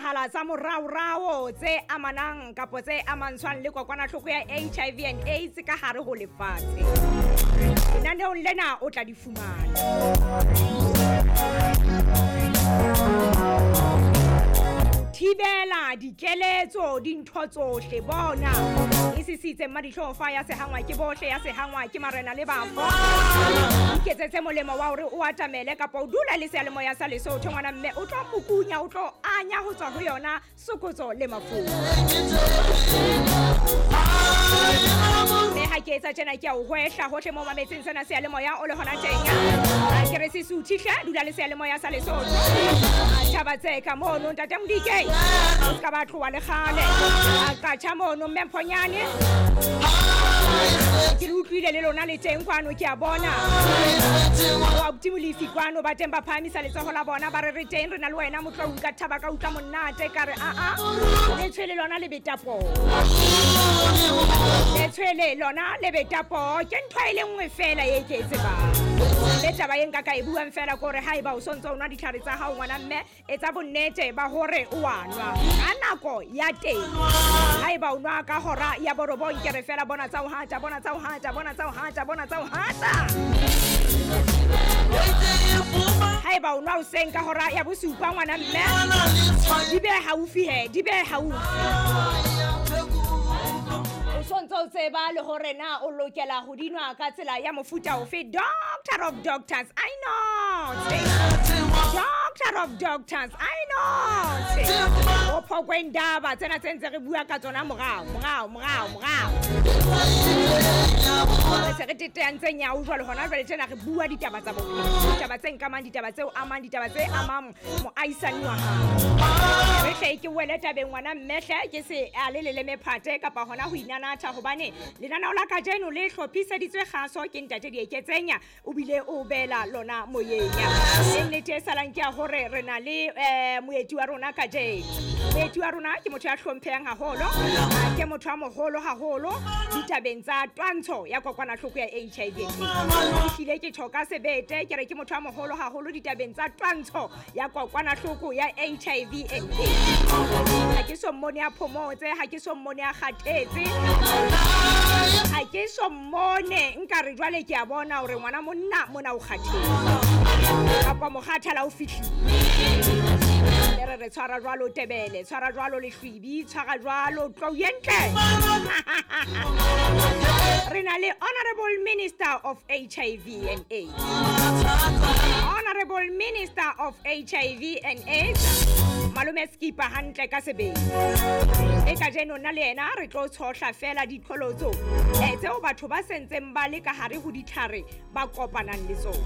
Diketsahala tsa moraorao tse amanang kapo tse amantshwang le kokwanahloko ya HIV and AIDS ka hare ho lefatshe. Lenaneong lena o tla di fumana. Thibela dikeletso dintho tsohle bona e sisitse mmadihlofa ya sehangwa ke bohle ya sehangwa ke marena le bafo. Iketsetse molemo wa hore o atamele kapa o dula le seyalemoya sa Lesotho ngwana mme o tlo mokunya o tlo anya ho tswa ho yona sokotso le mafu. Mme ha ke etsa tjena ke a o hwehla hohle mo mametseng sena seyalemoya o le hona teng. Ke re sesuthu hle dula le seyalemoya sa Lesotho. Tjhaba tse ka mono ntate Modike o ska ba tloha le kgale. A qatjha mono mme Mphonyane. Ke le utlwile le lona le teng kwano ke a bona. Wa Molefi kwano ba teng ba phahamisa letsoho la bona ba re re teng re na le wena motlo ka thaba ka utlwa monate ka re a le tshwele lona le betapo. Le tshwele lona le betapo ke ntho e le nngwe fela e ke e tsebang. Le taba e nka ka e buang fela ke hore haeba o sontso o nwa ditlhare tsa hao ngwana mme etsa bonnete ba hore o a nwa ka nako ya teng. Haeba o nwa ka hora ya borobong ke re fela bona tsa ho hata bona tsa ho hata bona tsa ho hata bona tsa ho hata. Haeba o nwa hoseng ka hora ya bosupa ngwana mme di be haufi he di be haufi. O sontso o tseba le hore na o lokela ho di nwa ka tsela ya mofuta ofe. Doctor of doctors, I know. Doctor of doctors, I know. O phokwe ndaba tsena tse ntse re bua ka tsona morao morao morao morao. Re se re teteantse nyao jwale hona jwale tjena re bua ditaba tsa bophelo. Ditaba tse nkamang, ditaba tseo amang, ditaba tse amang moahisani wa hao. Re hle ke wele tabeng ngwana mme hle ke se a le leleme phate kapa hona ho inanatha hobane lenaneo la kajeno le hlophiseditswe kgaso ke ntate Dieketsenya o bile o bela lona moyeng. Nnete e salang ke ya hore re na le moeti wa rona kajeno. Moeti wa rona ke motho ya hlomphehang haholo, ke motho a moholo haholo ditabeng tsa twantsho ya kokwanahloko ya HIV. Ehlile ke tjho ka sebete ke re ke motho a moholo haholo ditabeng tsa twantsho ya kokwanahloko ya HIV and AIDS. Ha ke so mmone a phomotse, ha ke so mmone a kgathetse, ha ke so mmone nka re jwale ke a bona hore ngwana monna mona o kgathetse kapa mokgathala o fihlile. Le re tshwara jwalo tebele, tshwara jwalo lehlwibi, tshwara jwalo tlou ye ntle. Re na le Honorable Minister of HIV and AIDS. Honorable Minister of HIV and AIDS Malome Skipa hantle ka sebele. E kajeno nna le yena re tlo tshohla fela diqholotso tseo batho ba sentseng ba le ka hare ho ditlhare ba kopanang le tsona.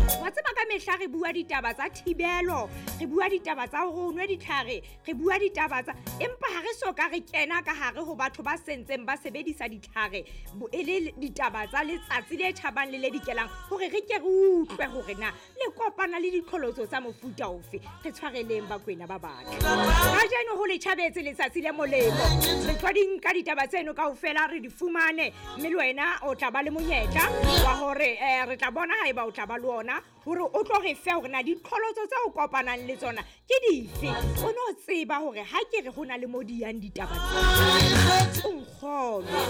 Wa tseba ka mehla re bua ditaba tsa thibelo, re bua ditaba tsa hore o nwe ditlhare, re bua ditaba tsa empa ha re so ka re kena ka hare ho batho ba sentseng ba sebedisa ditlhare e le ditaba tsa letsatsi le tjhabang le le dikelang hore re ke re utlwe hore na le kopana le diqholotso tsa mofuta ofe. Re tshwareleng bakwena ba batho. Kajeno ho le tjhabetse letsatsi le molemo. Re tlo di nka ditaba tseno kaofela re di fumane mme le wena o tla ba le monyetla wa hore re tla bona haeba o tla ba le ona hore o tlo re fe hore na diqholotso tse o kopanang le tsona ke dife. O no tseba hore ha ke re ho na le mo di yang ditaba tse. O nkgolwe,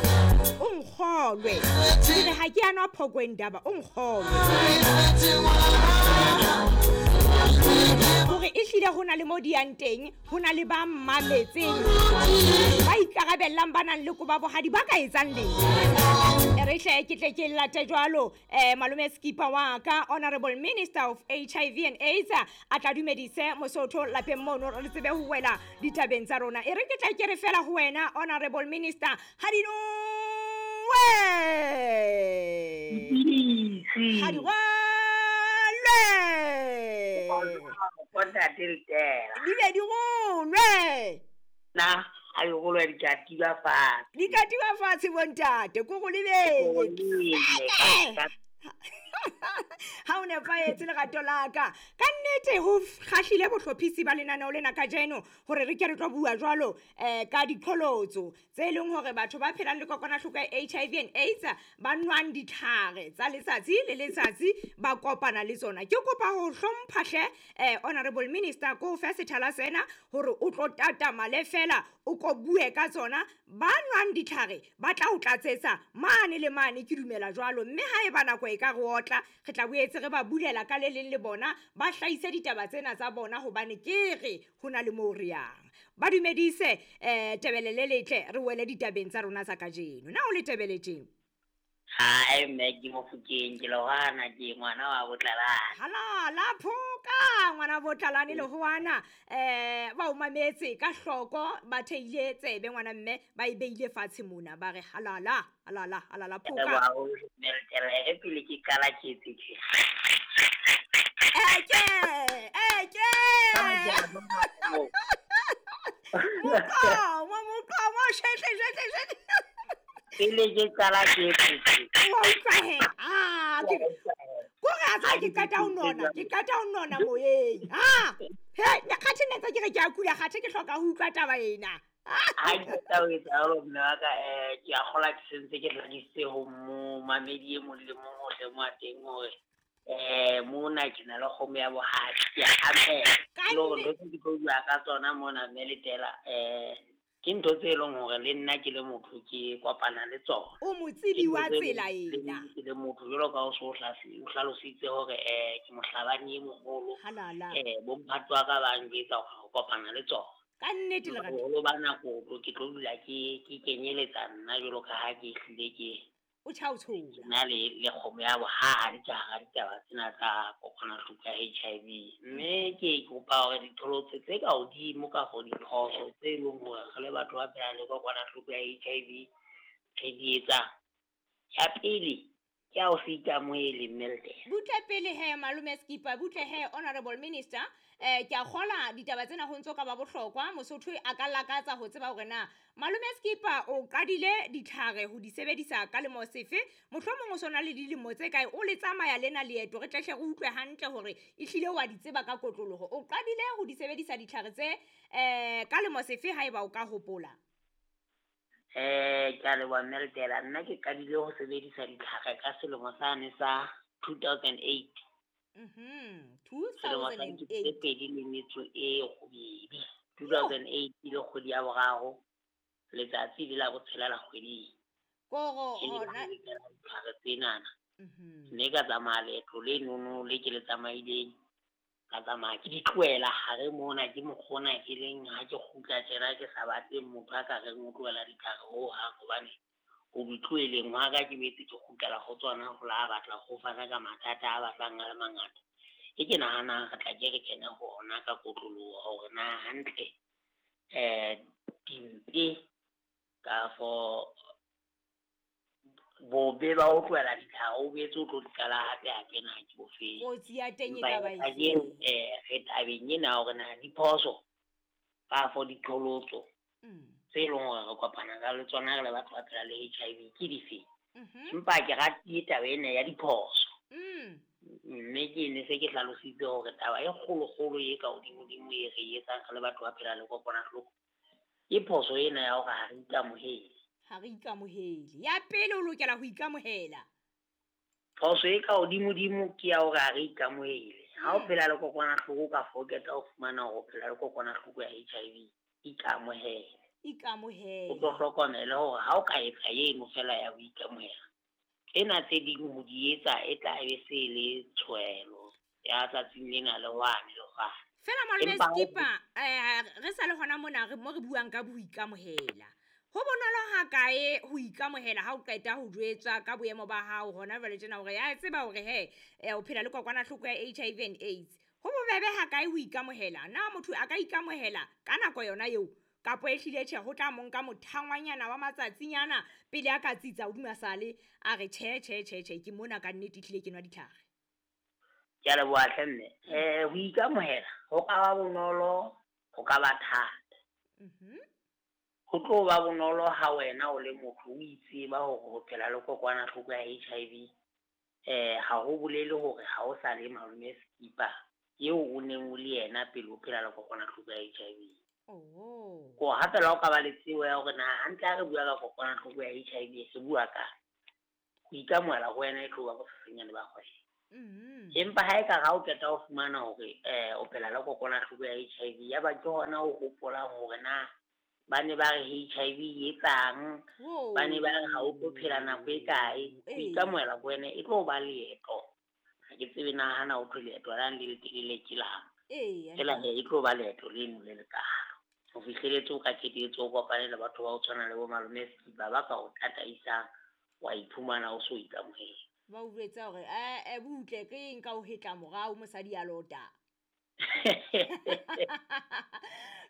o nkgolwe. Ke re ha ke a nwa phokwe ndaba, o nkgolwe. Hore ehlile ho na le mo di yang teng, ho na le ba mmametseng ba ikarabellang ba nang le koba bohadi ba ka etsang letho. Re hle ke tle ke late jwalo Malome Skipa wa ka Honorable Minister of HIV and AIDS a tla dumedise Mosotho lapeng mono re tsebe ho wela ditabeng tsa rona. E re ke tla ke re fela ho wena Honorable Minister ha di nowe ha di rwalwe di be di rolwe na ha di rolwe di katiwa fatshe di katiwa fatshe bontate ko go lebetse. Ha o nepahetse lerato la ka. Ka nnete ho kgahlile bohlophisi ba lenaneo lena kajeno hore re ke re tlo bua jwalo ka diqholotso tse leng hore batho ba phelang le kokwanahloko ya HIV and AIDS ba nwang ditlhare tsa letsatsi le letsatsi ba kopana le tsona. Ke kopa ho hlompha hle Honorable Minister ko fe sethala sena hore o tlo tatamale fela o ko bue ka tsona. Ba nwang ditlhare ba tla o tlatsetsa mane le mane, ke dumela jwalo. Mme ha eba nako e ka re otla, re tla boetse re ba bulela ka le leng le bona ba hlahise ditaba tsena tsa bona, hobane ke re ho na le moo re yang. Ba dumedise Tebele le letle, re wele ditabeng tsa rona tsa kajeno. Na o le Tebele tjena? Hai mme, ke Mofokeng, ke lehwana, ke ngwana wa Botlalane. Hala la phoka ngwana Botlalane lehwana. Ba o mametse ka hloko, ba theile tsebe ngwana mme, ba e beile fatshe mona, ba re halala halala halala phoka. Mme pele ke qala ke etse tje. Eke eke. Moqomo moqomo shehle shehle shehle. Pele ke qala ke etse tje. Wa utlwa he? Ah, ke kore a tsa ke qeta ho nona, ke qeta ho nona moyeng. Ah, he, nna kgathe nna ntse ke re ke a kula, kgathe ke hloka ho utlwa taba ena. Ha ke qeta ho etsa jwalo mme wa ka, ke a kgolwa ke sentse ke hlakisitse ho momamedi e mong le mong hohle mo a teng hore mona ke na le kgomo ya bohadi, ke a ameha. Le hore ntho tse ke tlo bua ka tsona mona mme Letela, ke ntho tse leng hore le nna ke le motho ke kopana le tsona. O motsebi wa tsela ena. Ke le motho jwalo ka o so o hlalositse hore ke mohlabani e moholo. Halala. Bomphato wa ka ba njwetsa hore ho kopana le tsona. Ka nnete lerato. Boholo ba nako ke tlo dula ke kenyeletsa nna jwalo ka ha ke hlile ke o tjhaotshola. Nna le kgomo ya bohadi ka hara ditaba tsena tsa kokwanahloko ya HIV. Mme ke kopa hore diqholotso tse ka hodimo kafo diphoso tse leng hore re le batho ba phelang le kokwanahloko ya HIV re di etsang. Ya pele ke ya ho se ikamohele mme Letela. Butle pele he malome Skipper, butle he Honorable Minister. Ke a kgola ditaba tsena ho ntso ka ba bohlokwa. Mosotho a ka lakatsa ho tseba hore na malome Skipper o qadile ditlhare ho di sebedisa ka lemo sefe, mohlomong o sona le dilemo tse kae o le tsamaya lena leeto, re tlehle re utlwe hantle hore ehlile wa di tseba ka kotloloho. O qadile ho di sebedisa ditlhare tse ka lemo sefe haeba o ka hopola? Ke a leboha mme Letela. Nna ke qadile ho sebedisa ditlhare ka selemo sane sa 2008. 2008. 2008 le kgwedi ya boraro, letsatsi le la botshelela la kgweding. Koro hona ditlhare tsenana. Mme ka tsamaya leeto le nono le ke le tsamaileng, ka tsamaya ke di tlohela hare mona, ke mokgona ke leng ha ke kgutla tjena ke sa batle motho a ka reng o tlohela ditlhare hohang, hobane ho di tloheleng hwa ka ke boetse ke kgutlela ho tsona ho la batla ho fana ka mathata a batlang a le mangata. E ke nahanang re tla ke re kene ho ona ka kotloloho hore na hantle dimpe kafo bobe ba ho tlohela ditlhare o boetse o tlo di qala hape hape na ke bofeng. Kotsi ya teng e ka ba efe? Re tabeng ena hore na diphoso kafo diqholotso tse leng hore re kopana ka le tsona re le batho ba phelang le HIV ke dife. Empa ke ratile taba ena ya diphoso. Mme ke ne se ke hlalositse hore taba e kgolokgolo e ka hodimodimo e re etsang re le batho ba phelang le kokwanahloko ke phoso ena ya hore ha re ikamohele. Ha re ikamohele. Ya pele o lokela ho ikamohela. Phoso e ka hodimodimo ke ya hore ha re ikamohele. Ha o phela le kokwanahloko ka foketa o fumana hore o phela le kokwanahloko ya HIV, ikamohele. Ikamohele. O tlo hlokomele hore ha o ka etsa eno fela ya ho ikamohela, tsena tse ding ho di etsa e tla be se le tshwelo ya tsatsing lena le hwane le hwane. Fela malome Skipper, re sa le hona mona re mo re buang ka boikamohela. Ho bonolo ha kae ho ikamohela ha o qeta ho jwetswa ka boemo ba hao hona jwale tjena hore ya tseba hore he o phela le kokwanahloko ya HIV and AIDS. Ho bobebe ha kae ho ikamohela? Na motho a ka ikamohela ka nako yona eo kapo ehlile tjhe ho tla monka mothangwanyana wa matsatsinyana pele a ka tsitsa hodima sale a re tjhe tjhe tjhe tjhe ke mona ka nnete ehlile ke nwa ditlhare? Ke a leboha hle mme. Ho ikamohela ho ka ba bonolo, ho ka ba thata. Ho tlo ba bonolo ha wena o le motho o itseba hore ho phela le kokwanahloko ya HIV Ha ho bolele hore ha o sa le Malome Skipa eo o neng o le yena pele o phela le kokwanahloko ya HIV. Ko hape la o ka ba le tsebo ya hore na hantle ha re bua ka kokwanahloko ya HIV re bua ka ho ikamohela ho wena e tlo ba bosesenyane ba kgwebo. Empa ha e ka ha o qeta ho fumana hore o phela le kokwanahloko ya HIV, ya ba ke hona o hopolang hore na ba ne ba re HIV e etsang, ba ne ba re ha o tlo phela nako e kae, ho ikamohela ho wena e tlo ba leeto. Ha ke tsebe na hana ho thwe leeto la le letelele ke lang. Fela he e tlo ba leeto leno le lekalo. Ho fihleletse o ka qetelletse o kopane le batho ba o tshwana le bo Malome Skipa ba ka o tataisang, wa iphumana o so ikamohela. Ba o jwetsa hore butle ke eng ka o hetla morao mosadi a lota.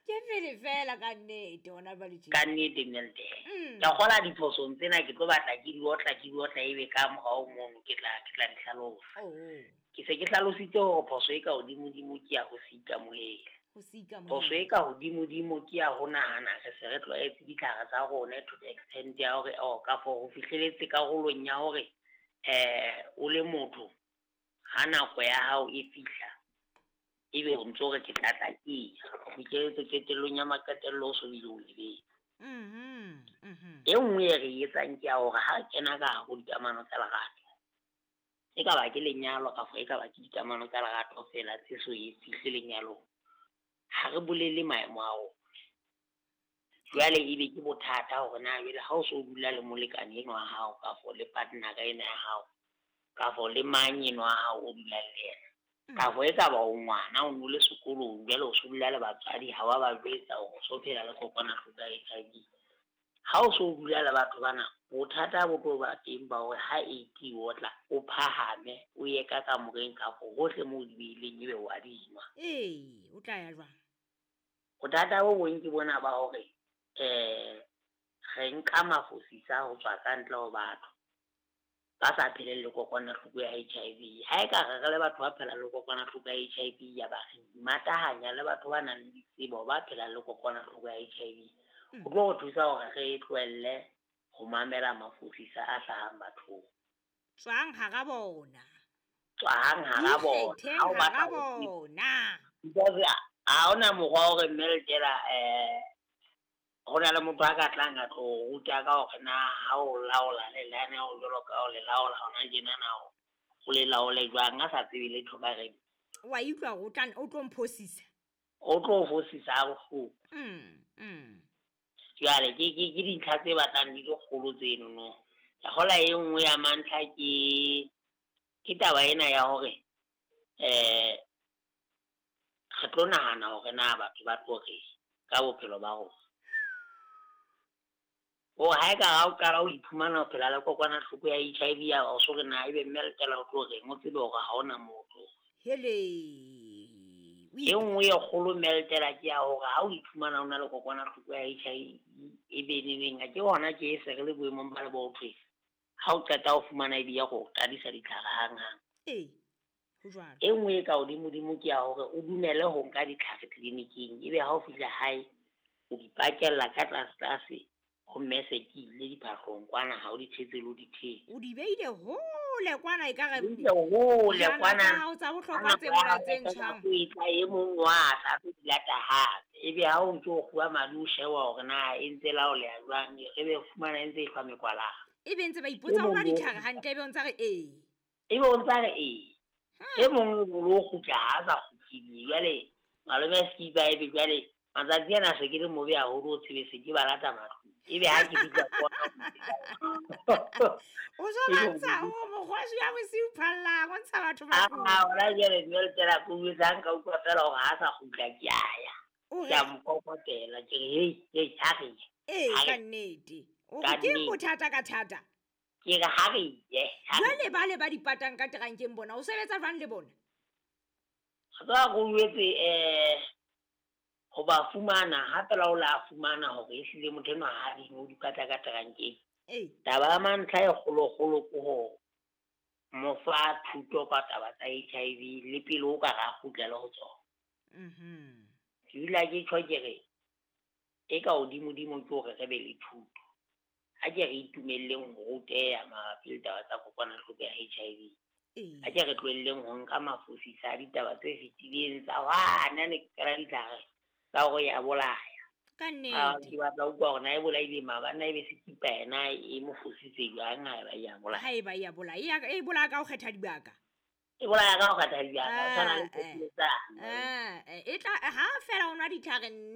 Ke pele fela ka nnete hona jwale tje. Ka nnete Melte. Ke kgola diphosong tsena ke tlo batla ke di otla ebe ka morao mono ke tla di hlalosa. Ke se ke hlalositse hore phoso e ka hodimodimo ke ya ho se ikamohele. Phoso e ka hodimodimo ke ya ho nahana re se re tlwaetse ditlhare tsa rona to the extent ya hore ka for ho fihleletse karolong ya hore o le motho ha nako ya hao e fihla ebe o ntso re ke tla tla ke ho fihleletse qetellong ya maqetello o so bile o lebetse. E nngwe e re etsang ke ya hore ha kena ka hare ho dikamano tsa lerato, e ka ba ke lenyalo kapa e ka ba ke dikamano tsa lerato fela tse so e fihle lenyalong, ha re bolele maemo a rona. Jwale ebe ke bothata hore na jwale ha o so dula le molekane enwa wa hao kafo le partner ena ya hao kafo le mang enwa wa hao o dulang le yena, kafo e ka ba o ngwana o no le sekolong jwale o so dula le batswadi ha wa ba jwetsa hore o so phela le kokwanahloko ya HIV. Ha o so dula le batho bana, bothata bo tlo ba teng ba hore ha eighty o tla o phahame o ye ka kamoreng kafo hohle moo di beileng ebe wa dinwa. O tla ya jwang? Bothata bo bong ke bona ba hore re nka mafosisa ho tswa ka ntle ho batho ba sa pheleng le kokwanahloko ya HIV. Ha e ka re re le batho ba phelang le kokwanahloko ya HIV ya ba re matahanya le batho ba nang le ditsebo ba phelang le kokwanahloko ya HIV, ho tlo re thusa hore re tlohelle ho mamela mafosisa a hlahang bathong. Tswang hara bona. Tswang hara bona. Ha o batla bona. Because ha hona mokgwa hore Melte ho na le motho a ka tlang a tlo ruta ka hore na ha o laola le lane o jwalo ka o le laola hona tjena na o le laole jwang a sa tsebe letho ka reng. Wa utlwa hore o tlo mphosisa. O tlo fosisa ha bohloko. Jwale ke dintlha tse batlang di le kgolo tseno no. Ke kgola e nngwe ya mantlha ke taba ena ya hore re tlo nahana hore na batho ba tlo re ka bophelo ba rona. O ha e ka ha o qala o iphumana o phela le kokwanahloko ya HIV ya o so re na ebe Melte o tlo reng, o tsebe hore ha hona motho. Hele. E nngwe e kgolo Melte ke ya hore ha o iphumana o na le kokwanahloko ya HIV e be neneng ke hona ke e se re le boemong ba le bo thwe. Ha o qeta ho fumana ebe ya go qadisa ditlhare hanghang. Ho jwalo. E nngwe e ka hodimodimo ke ya hore o dumele ho nka ditlhare tleliniking ebe ha o fihla hae o di pakella ka tlase ho mme se ke ile diphahlong kwana ha o di thetse le o di thetse. O di beile hole kwana e ka re hole kwana. Ha o tsa bohlokwa tse mona tse ntjhang. O etla e mong wa tla tlo di lata hape. Ebe ha o ntso o kguwa madi o sheba hore na e ntse laoleha jwang, ebe fumana e ntse e hlwa mekwalana. Ebe ntse ba ipotsa hore ditlhare hantle ebe o ntsa re ee. Ebe o ntsa re ee. E mong o lo kgutla ha sa kgutlile. Jwale Malome Skipa ebe jwale matsatsi ana se ke le mobe haholo o tsebe se ke ba lata matlung. Ebe ha ke fihla kwana. O so batsa o mokgwashi ya bosiu phallang, o ntsha batho matlung. Hona jwale Melte la ko jwetsa nka utlwa fela hore ha sa kgutla ke a ya. Ke a mo kokotela ke re hei ha re ye. Ka nnete. O ke bothata ka thata. Ke re ha re ye. Jwale ba le ba dipatang ka terankeng bona, o sebetsa jwang le bona? Ga go jwetse ho ba fumana hape la o la fumana hore ehlile motho enwa ha di no di pata ka terankeng. Taba ya mantlha e kgolokgolo ke ho mo fa thuto ka taba tsa HIV le pele o ka ra kgutlela ho tsona. Ke dula ke tjho ke re e ka hodimodimo ke hore re be le thuto. Ha ke re itumelleng ho ruteha mabapi le taba tsa kokwanahloko ya HIV. Ee. A ke re tlohelleng ho nka mafosisa a ditaba tse fetileng tsa wane ne ke qala ditlhare tsa hore ya bolaya. Ka Ah, nnete. ke batla ho utlwa hore na e bolaile maobane na ebe sekipa yena e mo fositse jwang ha eba e ya bolaya. Ha eba e ya bolaya, e bolaya ka ho kgetha dibaka. E bolaya ka ho kgetha dibaka, o tshwana le Ah, eh. tsane. Ah, e tla ha fela o nwa ditlhare.